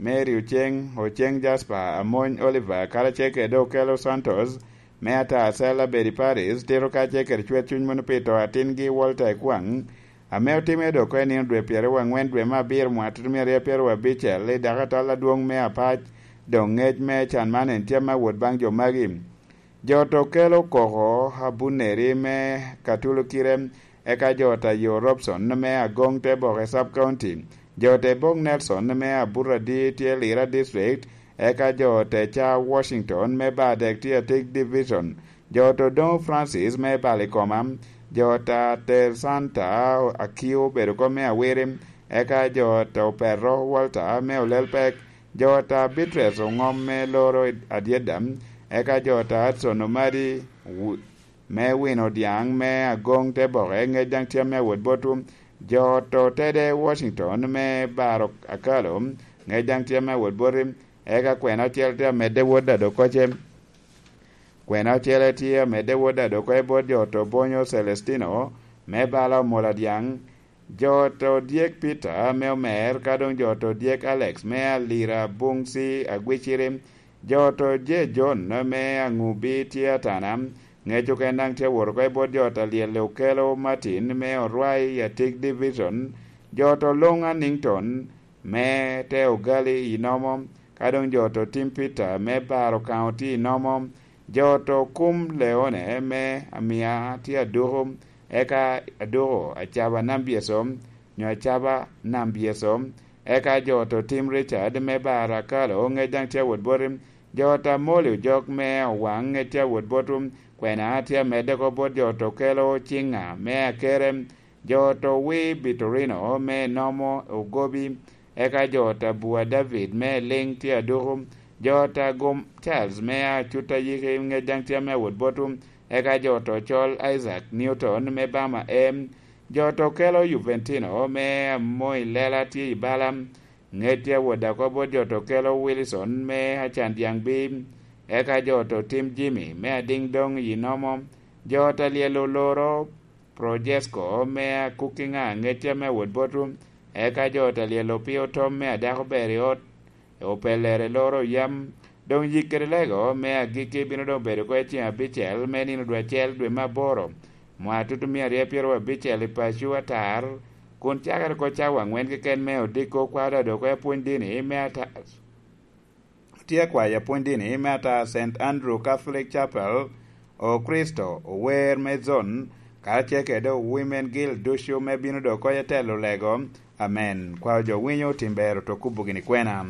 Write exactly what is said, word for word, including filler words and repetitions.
Mary Oceng, Oceng Jasper, Amony Oliver, karacel kede Okello Santos, me ata acel abedo i Paris, tito kacel kede cwer cuny mono pi to atingi Walter Ekwang, ame otimme dok oko i nino dwe pyeraryo angwen dwe me abiro mwaka tutumia aryo pyeraryo abicel i dakatal adwoŋ me Apac, doŋ ŋec me can man en tye me awot baŋ jo magi. Jo to kelo koko abunneri me Katulukire, eka jo ta yo Robson me Agoŋ te Boke Sub County, jo te Bok Nelson me Aburadi tye Lira District, eka jo te ca Washington me Badek tye Atik Division, jo to Doŋo Francis me Balikoma, jo ta Ter Santa Akio obedo kom me Awiri, eka jo to Petro Walter me Olelpek, jo ta Bitres Oŋom me Loro Adyeda, eka jo ta Adson Omadi wu- me wino dyaŋ me Agoŋ te Boke, ŋec daŋ tye me awot botwu. Jo to Tede Washington me Baro Akalo, ŋec daŋ tye me awot boti. Eka kwena ocel tye amedde wot Adokoce. Kwena ocele tye amedde wot Adokoce bot jo to Bonyo Celestino me Bala Omola Dyaŋ, jo to dyek Peter me Omer, ka doŋ jo to dyek Alex me Alira Buŋ C Agwiciri, jo to je John me Aŋubi tye Atana, ŋec oken daŋ tye awot oko i bot jo ta Lyelle Okelo Martin me Orwai i Atik Division, jo to Luŋ Anington me te Ogali i Nomo, ka doŋ jo to Tim Peter me Baro County i Nomo, jo to Kum Leone me Amia tye Aduku, eka Aduku Acaba Nambyeso, nyo Acaba Nambyeso, eka jo to Tim Richard me Baro Akalo, ŋec daŋ tye awot boti, jo ta Moli Ojok me Owaŋ, ŋec tye awot botwu, kwena tye amedde oko bot jo to Kelo Ciŋa me Akere, jo to Wi Bitorino me Nomo Ogobi, eka jo ta Bua David me Liŋ tye Aduku, jo ta Gum Charles me Acuta Yiki, ŋec daŋ tye me awot botwu, eka jo to Col Isaac Newton me Bama M, jo to Kelo Juventino me Amoi Lela tye i Bala, ŋec tye awot daŋ oko bot jo to Kelo Wilson me Acan Dyaŋ Bim, eka jo to Tim Jimmy me Adiŋ Doŋ i Nomo, jo ta Lyel Oloro Projesko me Akukiŋa, ŋec tye me awot botwu, eka jo ta Lyel Opio Tom me Adako Ber i Ot Opellere Loro Yam. Doŋ yik kede lego me agikki bino doŋ bedo oko i ceŋ abicel me nino dwe acel dwe me aboro, mwaka tutumia aryo pyeraryo abicel i paco atar, kun cakere oko cawa aŋwen keken me odiko kwaro doŋ oko i apwony dini me ata-, tye akwayo apwony dini me ata Saint Andrew Catholic Chapel, Okricito, ower me zon, karacel kede Women Guild ducu me bino doŋ oko i telo lego. Amen. Kwaro jo winyo tim ber oto kubo gini kwena.